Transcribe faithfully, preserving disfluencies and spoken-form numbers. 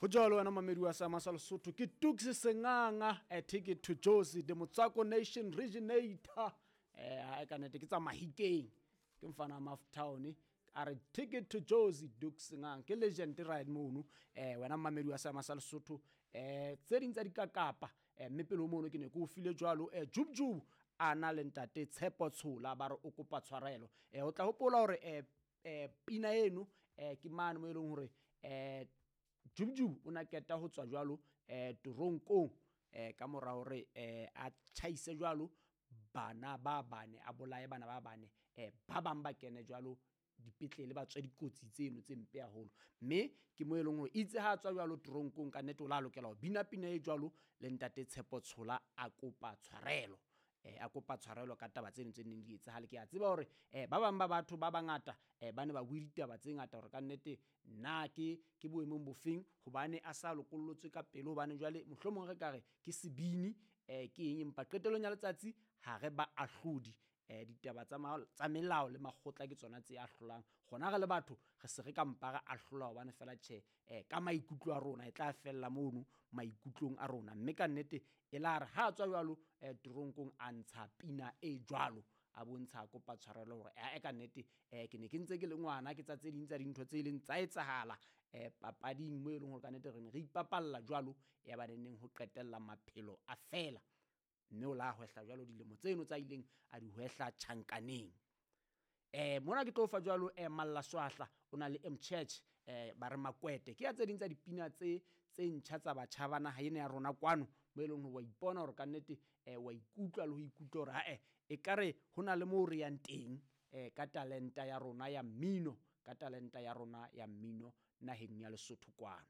Ho jwalo wena mamedi wa Seama sa Lesotho, ke Tuks Senganga, a ticket to Jozi, the Motswako Nation originator. Eh ha ka nete ke tsa Mahikeng, ke mfana Maftown, a re ticket to Jozi, Tuks Senganga ke legend right mono. Eh wena mamedi wa Seama sa Lesotho, eh tse ding tsa dikakapa, eh mme pele ho mono ke ne ke o file jwalo eh Jub Jub a na le ntate Tshepo Tshola, ba re o kopa tshwarelo. Eh o tla hopola hore eh eh pina eno eh ke mane mo e leng hore eh Jub Jub o na keta ho tswa jwalo eh toronkong eh ka mora hore eh a tjhaise jwalo bana ba bane, a bolaye bana ba bane, eh ba bang ba kene jwalo dipetlele ba tswe dikotsi tseno tse mpe haholo. Mme ke mo e leng hore itse ha a tswa jwalo toronkong ka nnete o la lokela ho bina pina e jwalo le ntate Tshepo Tshola a kopa tshwarelo. Eh a kopa tshwarelo ka taba tseno tse neng di etsahale. Ke a tseba hore eh ba bang ba batho ba bangata eh ba ne ba bue ditaba tse ngata hore ka nnete nna ke ke boemong bofeng hobane a sa lokollotswe ka pele, hobane jwale mohlomong re ka re ke sebini eh ke eng, empa qetellong ya letsatsi ha re ba ahlodi. Eh ditaba tsa tsa melao le makgotla ke tsona tse ahlolang. Rona re le batho re se re ka mpa re ahlola hobane fela tjhe eh ka maikutlo a rona e tla fella mono maikutlong a rona. Mme ka nnete e la re ha tswa jwalo eh toronkong a ntsha pina e jwalo, a bontsha kopa tshwarelo hore eh ka nnete eh ke ne ke ntse ke le ngwana, ke tsa tse ding tsa dintho tse leng tsa etsahala eh papading mo e leng hore ka nnete re ne re ipapalla jwalo, ya ba neng ho qetella maphelo a fela. Mme o la hwehla jwalo dilemo tseno tsa ileng a di hwehla tjhankaneng. Eh mona ke tlo fa jwalo eh Malla Swahla o na le M Church eh ba re Makwete, ke ya tse ding tsa dipina tse tse ntjha tsa batjha ba naha ena ya rona kwano, mo e leng hore wa ipona hore ka nnete eh wa ikutlwa le ho ikutlwa hore ha-eh ekare ho na le moo re yang teng eh ka talenta ya rona ya mmino, ka talenta ya rona ya mmino naheng ya Lesotho kwano.